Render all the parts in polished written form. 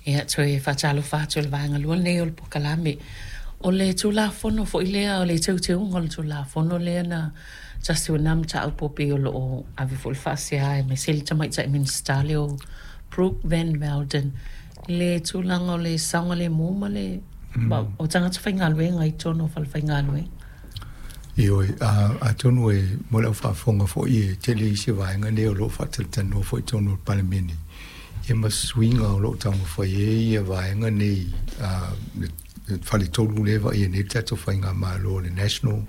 Ia, toe faatalofa atu i le vaega lua lenei o le polokalame. O le Tulafono foi lea, o le teuteuga o le Tulafono lea na tasi o na mataupu e pei o lo o ave foi le faasea aemaise le tamaitai Minisita lea o Brooke Van Velden i le tulaga o le saogalemu ma le o tagata faigaluega i totonu o falefaigaluega. Ioe, atonu e mo le au faafofoga foi e tele isi vaega nei o lo o faatalatalanoa foi i totonu o le Palemene, ia ma suiga o lo o taumafai ai ia vaega nei, le faletolu lea e vaaia nei le tatou faigamalo, o le National,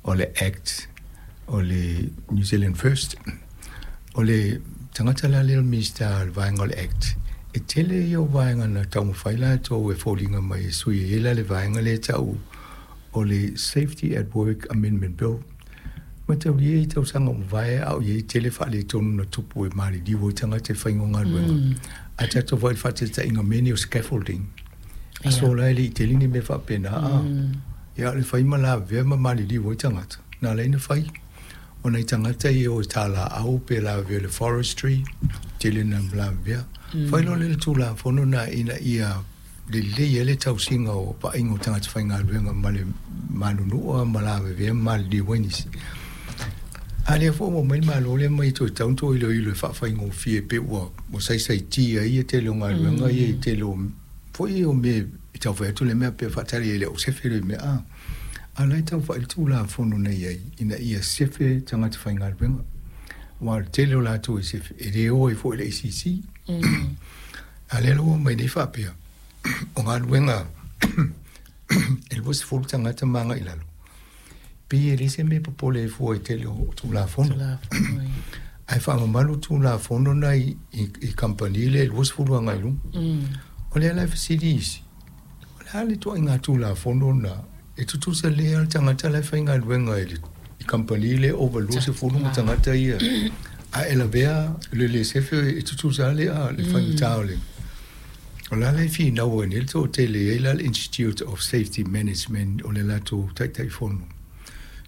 o le Act, o le New Zealand First. O le tagata la lea o le Minisita o le vaega o le Act, e tele ia o vaega na taumafai latou e foliga mai e sui ai la le vaega lea e tau o le Safety at Work Amendment Bill. Mataulia i tausaga ua mavae a o i ai tele faaletonu na tupu e maliliu ai tagata e faiga o galuega. Ae tatou vaai i le faataitaiga mea nei o scaffolding. Aso la e le i tele ni mea faapena a. Ia o le fai ma lavevea ma maliliu ai tagata, na ala ai ona fai. O nai tagata ia e o i talaau pe lavevea i le forestry, tele na lavevea. Fai loa lea o le Tulafono lena ina ia lelei ai le tausiga o vaaiga o tagata faigaluega ma le manunua ma lavevea ma maliliu ai nisi. A lea foi ua omai le Malo lea ma ia toe tatau ona toe iloilo e faafaigofie pei ua saisaitia ai le tele o galuega ia i tele o foi o mea e tau fai atu le mea pe faatali ai e le au sefe le mea a. A o la e tau vaai le Tulafono na i ai ina ia sefe tagata faigaluega. Aua o le tele o latou e sefe e le o ai foi i le ACC. A lea la ua omai nei faapea, o galuega e 20 tagata ma agai i lalo, pei e leai se mea e popole ai fua i tele o Tulafono. Ae faamamalu Tulafono na i kamupani lea e 20 agai i luga. O lea la e fesili isi, o le a le ituaiga Tulafono na e tutusa lelei lava le tagata la e faigaluega i le kamupani lea over 20 ma tagata ia, a e lavea le le sefe e tutusa lava le faigata o le. O la la e finau ai nei le toatele e i ai la le Institute of Safety Management o le latou Taitaifono.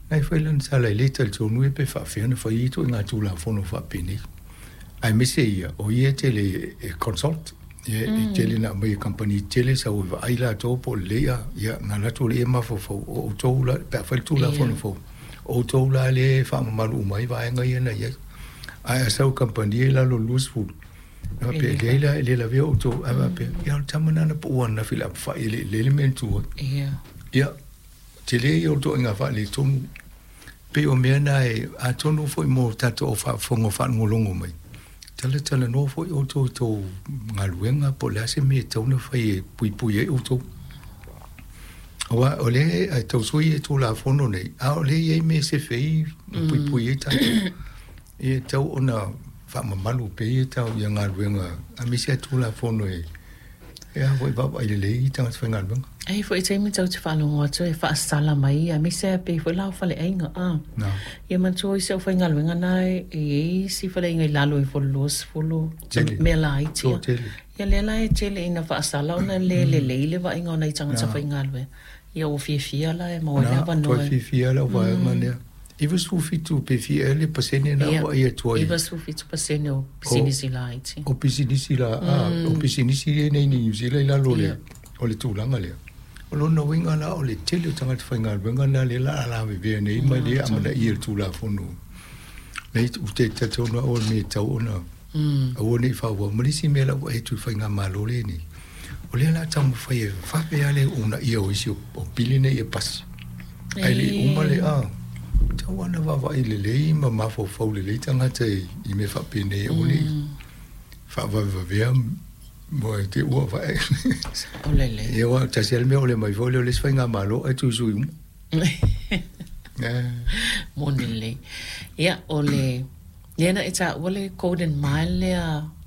Na e fai lana tala e le talitonu ia pe faafefea ona fai ia ituaiga Tulafono faapenei. Aemaise ia, o ia e tele e consult, ia e tele na aumai e kamupani tetele sau e vaai latou po o lelei a, ia na alu atu lea mafaufau o outou la, pe a fai le Tulafono fou, o outou la lea e faamamalu uma ai vaega ia na i ai. Ae a sau i kamupani ia i lalo o le 20, na faapea, e leai la, e le lavea outou, ae faapea, ia o le tama lena na pau ananafi i le apefai e le i lelei le mea na tu ai. Ia, tele ia o le ituaiga faaletonu. Pei o mea na e, atonu foi mo tatou au faafofoga o faalogologo mai, talatalanoa foi outou i tou galuega po o le a se mea e tatau ona fai e puipui ai outou. Aua o lea e tau sui le Tulafono nei, a o lea e i ai mea e sefe ai ma puipui ai tatou. E tatau ona faamamalu pea ia tau ia galuega aemaise a Tulafono e a foi vaavaai lelei tagata faigaluega. E i ai foi taimi tatou te faalogo atu e faasala mai aemaise lava pei foi la o faleaiga a. Ia manatua isi aufaigaluega na e i ai isi faleaiga i lalo ifo o le 20 mea laiti a. Ia lea la e tele ina faasala ona le lelei le vaaiga o nai tagata faigaluega. Ia ua fiafia la e maua ai le avanoa. Toe fiafia lau vaega lea. 97 pe fia ea le pasene na vaai atu ai. 97% o pisinisi laiti. O pisinisi la, o pisinisi ia nei i Niu Sila i lalo o le tulaga lea. O lona uiga la o le tele o tagata faigaluega na lea la a lavevea nei ma le amanaia i le Tulafono. Nei ou te talitonu au o le mea e tatau ona aua ne i faaauau. Ma le isi mea la ua vaai atu i le faigamalo lenei, o lea o le a taumafai e vave lava le uunaia o isi o pili nei e pasi. Ae le i uma le a, tatau lava ona vaavaai lelei ma mafaufau lelei tagata i mea faapenei aua ne i faavavevavea mo e te ua vae. O lelei. Ia aua tasi lava le mea o le mai foi lea o le isi faigamalo ae tuisui uma. Moni lelei. Ia, o le, lea na e taua le Golden Mile lea.